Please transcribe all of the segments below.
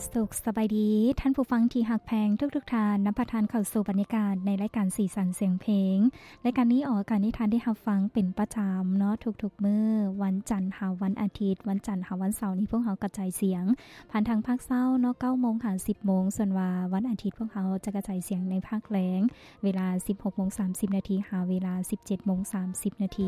ສຸກສະບາຍດີ ທ່ານຜູ້ຟັງທີ່ຮັກແພງທຸກໆທ່ານ, ນຳພາທ່ານເຂົ້າສູ່ບັນຍາກາດໃນລາຍການສີສັນສຽງເພງ. ລາຍການນີ້ອອກອາກາດໃຫ້ທ່ານໄດ້ຮັບຟັງເປັນປະຈຳເນາະ ທຸກໆມື້ ວັນຈັນຫາວັນອາທິດ, ວັນຈັນຫາວັນເສົານີ້ພວກເຮົາກະຈາຍສຽງຜ່ານທາງພາກເຊົ້າເນາະ ເກົ້າໂມງຫາສິບໂມງ, ສ່ວນວ່າວັນອາທິດພວກເຮົາຈະກະຈາຍສຽງໃນພາກແລງ ເວລາສິບຫົກໂມງສາມສິບນາທີ ຫາເວລາສິບເຈັດໂມງສາມສິບນາທີ.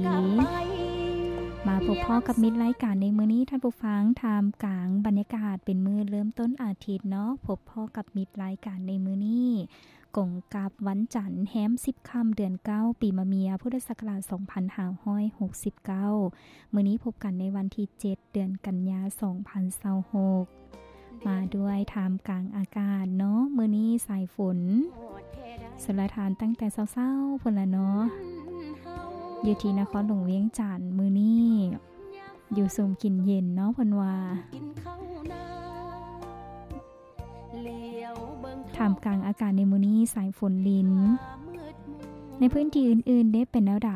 ມາພົບພໍ້ກັບມິດລາຍການໃນມື້ນີ້ ທ່ານຜູ້ຟັງ, ທ່າມກາງບັນຍາກາດເປັນມື້ເລີ່ມຕົ້ນອາທິດເນາະ, ພົບພໍ້ກັບມິດລາຍການໃນມື້ນີ້ ກົງກັບວັນຈັນ ແຮມສິບຄ່ຳ ເດືອນເກົ້າ ປີມະເມຍ ພຸດທະສັກກະລາດສອງພັນຫ້າຮ້ອຍຫົກສິບເກົ້າ. ມື້ນີ້ພົບກັນໃນວັນທີເຈັດ ເດືອນກັນຍາ ສອງພັນຊາວຫົກ ມາດ້ວຍທ່າມກາງອາກາດເນາະ, ມື້ນີ້ສາຍຝົນຊົນລະທານຕັ້ງແຕ່ເຊົ້າໆ ພຸ້ນລະເນາະ ຢູ່ທີ່ນະຄອນຫຼວງວຽງຈັນ. ມື້ນີ້ຢູ່ຊຸ່ມກິນເຢັນເນາະ ເພິ່ນວ່າ. ທ່າມກາງອາກາດໃນມື້ນີ້ ສາຍຝົນລິນ ໃນພື້ນທີ່ອື່ນໆເດ້ ເປັນແນວໃດ?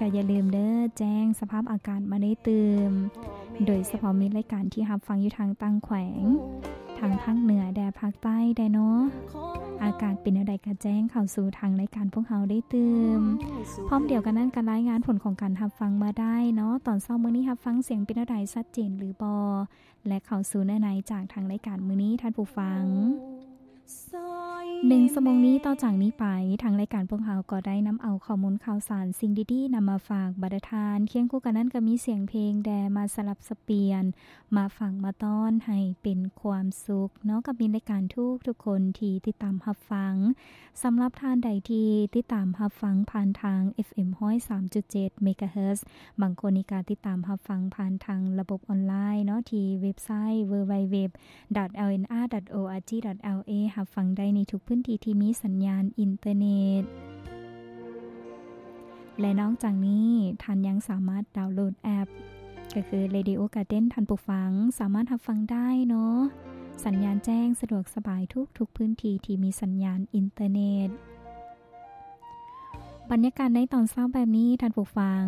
ກະຢ່າລືມເດີ ແຈ້ງສະພາບອາກາດມາໄດ້ຕື່ມ, ໂດຍສະເພາະມິດລາຍການທີ່ຮັບຟັງຢູ່ທາງຕ່າງແຂວງ ທາງພາກເໜືອແດ່ ພາກໃຕ້ແດ່ເນາະ, ອາກາດເປັນແນວໃດກະແຈ້ງເຂົ້າສູ່ທາງລາຍການພວກເຮົາໄດ້ຕື່ມ. ພ້ອມດຽວກັນນັ້ນກະລາຍງານຜົນຂອງການຮັບຟັງມາໄດ້ເນາະ, ຕອນເຊົ້າມື້ນີ້ຮັບຟັງສຽງເປັນແນວໃດ ຊັດເຈນຫຼືບໍ່? ແລະ ເຂົ້າສູ່ເນື້ອໃນຈາກທາງລາຍການມື້ນີ້ ທ່ານຜູ້ຟັງ. ໜຶ່ງຊົ່ວໂມງນີ້ ຕໍ່ຈາກນີ້ໄປ ທາງລາຍການພວກເຮົາກໍໄດ້ນຳເອົາຂໍ້ມູນຂ່າວສານ ສິ່ງດີໆນຳມາຝາກບັນດາທ່ານ, ຄຽງຄູ່ກັນນັ້ນກໍມີສຽງເພງແດ່ມາສະຫຼັບສະປ່ຽນ ມາຝາກມາຕ້ອນໃຫ້ເປັນຄວາມສຸກເນາະ ກັບມິດລາຍການທຸກໆຄົນທີ່ຕິດຕາມຮັບຟັງ. ສຳລັບທ່ານໃດທີ່ຕິດຕາມຮັບຟັງຜ່ານທາງ ເອັຟເອັມ ຮ້ອຍສາມຈຸດເຈັດ ເມກາເຮີດ, ບາງຄົນນີ້ກະຕິດຕາມຮັບຟັງຜ່ານທາງລະບົບອອນລາຍເນາະ ທີ່ເວັບໄຊ www.lnr.org.la ຮັບຟັງໄດ້ໃນທຸກພື້ນທີ່ທີ່ມີສັນຍານອິນເຕີເນັດ. ແລະ ນອກຈາກນີ້ ທ່ານຍັງສາມາດດາວໂຫຼດແອັບ ກໍຄື Radio Garden ທ່ານຜູ້ຟັງສາມາດຮັບຟັງໄດ້ເນາະ, ສັນຍານແຈ້ງສະດວກສະບາຍທຸກໆພື້ນທີ່ທີ່ມີສັນຍານອິນເຕີເນັດ. ບັນຍາກາດໃນຕອນເຊົ້າແບບນີ້ ທ່ານຜູ້ຟັງ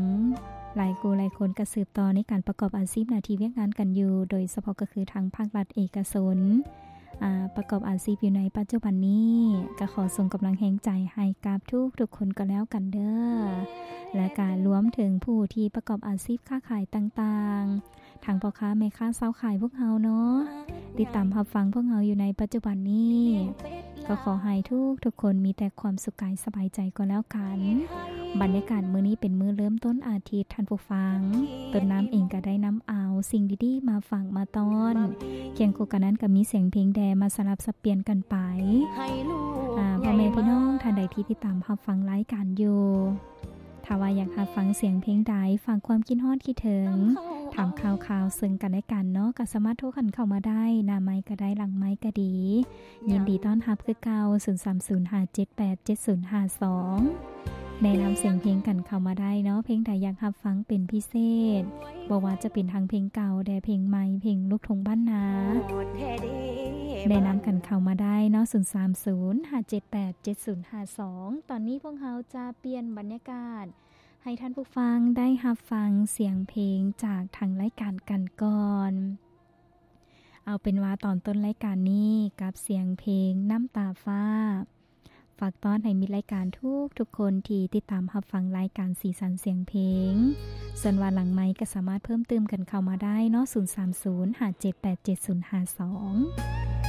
ຫຼາຍຄູ່ຫຼາຍຄົນກໍສືບຕໍ່ໃນການປະກອບອາຊີບໜ້າທີ່ວຽກງານກັນຢູ່, ໂດຍສະເພາະກໍຄືທາງພາກລັດເອກະຊົນ ອາ ປະກອບອາຊີບຢູ່ໃນປັດຈຸບັນນີ້ ກໍຂໍສົ່ງກຳລັງແຮງໃຈໃຫ້ກັບທຸກໆຄົນກໍແລ້ວກັນເດີ ແລະ ກໍລວມເຖິງຜູ້ທີ່ປະກອບອາຊີບຄ້າຂາຍຕ່າງໆ ທັງພໍ່ຄ້າແມ່ຄ້າຊາວຂາຍພວກເຮົາເນາະ ຕິດຕາມຮັບຟັງພວກເຮົາຢູ່ໃນປັດຈຸບັນນີ້ ກໍຂໍໃຫ້ທຸກໆຄົນມີແຕ່ຄວາມສຸກກາຍສະບາຍໃຈກໍແລ້ວກັນ. ບັນຍາກາດມື້ນີ້ເປັນມື້ເລີ່ມຕົ້ນອາທິດ ທ່ານຜູ້ຟັງ, ຕົ້ນນ້ຳເອງກໍໄດ້ນຳເອົາສິ່ງດີໆມາຝາກມາຕ້ອນ, ຄຽງຄູ່ກັນນັ້ນກໍມີສຽງເພງແດ່ມາສະຫຼັບສັບປ່ຽນກັນໄປ. ອາ ພໍ່ແມ່ພີ່ນ້ອງທ່ານໃດທີ່ຕິດຕາມຮັບຟັງລາຍການຢູ່ ຖ້າວ່າຢາກຮັບຟັງສຽງເພງໃດ, ຝາກຄວາມຄິດຮອດຄິດເຖິງ, ຖາມຂ່າວຄາວເຊິ່ງກັນແລະກັນເນາະ, ກໍສາມາດໂທກັນເຂົ້າມາໄດ້, ໜ້າໄມກໍໄດ້, ຫຼັງໄມກໍດີ. ຍິນດີຕ້ອນຮັບຄືເກົ່າ, ສູນສາມສູນ ຫ້າເຈັດແປດ ເຈັດສູນຫ້າສອງ. ແນະນຳສຽງເພງກັນເຂົ້າມາໄດ້ເນາະ, ເພງໃດຢາກຮັບຟັງເປັນພິເສດ, ບໍ່ວ່າຈະເປັນທັງເພງເກົ່າແດ່, ເພງໃໝ່, ເພງລູກທົ່ງບ້ານນາ. ແນະນຳກັນເຂົ້າມາໄດ້ເນາະ, ສູນສາມສູນ ຫ້າເຈັດແປດ ເຈັດສູນຫ້າສອງ. ຕອນນີ້ພວກເຮົາຈະປ່ຽນບັນຍາກາດ ໃຫ້ທ່ານຜູ້ຟັງໄດ້ຮັບຟັງສຽງເພງຈາກທາງລາຍການກັນກ່ອນ. ເອົາເປັນວ່າຕອນຕົ້ນລາຍການນີ້ກັບສຽງເພງນ້ຳຕາຟ້າ ຝາກຕ້ອນໃຫ້ມິດລາຍການທຸກໆຄົນທີ່ຕິດຕາມຮັບຟັງລາຍການສີສັນສຽງເພງ. ສ່ວນວ່າຫຼັງໄມກໍສາມາດເພີ່ມຕື່ມກັນເຂົ້າມາໄດ້ເນາະ, ສູນສາມສູນ ຫ້າເຈັດແປດ ເຈັດສູນຫ້າສອງ.